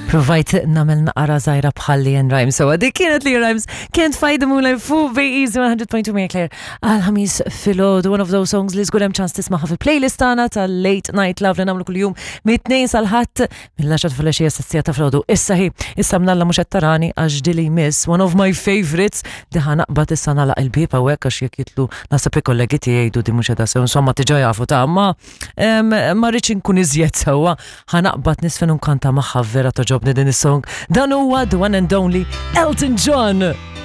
Provajt nagħmel naqra żgħira bħal Leanne Rimes. So dik kienet Leanne Rimes Can't Fight the Moonlight fuq Bej Easy 100.2 Maria Claire għal ħamis filgħodu one of those songs li żgur hemm ċans tismaħħa fil-playlist tagħna tal-Late Night Love li nagħmlu kuljum mit-tnejn sal-ħadd mill-10 filgħaxija sa ta' filgħodu. Issa hi, issa mnalla mhux qed tarani għax dili jmiss one of my favorites di ħa naqbad issa nagħlaq il-bieb hawnhekk għax jekk jitlu naħseb il-kollegi tiegħi jgħidu di mhux qiegħda sew insomma diġà jafu ta' ma ma rridx inkun iżjed sewwa, ħa naqbad nisfen u nkanta magħha vera toġobni din is-song. Dan huwa the one and only Elton John.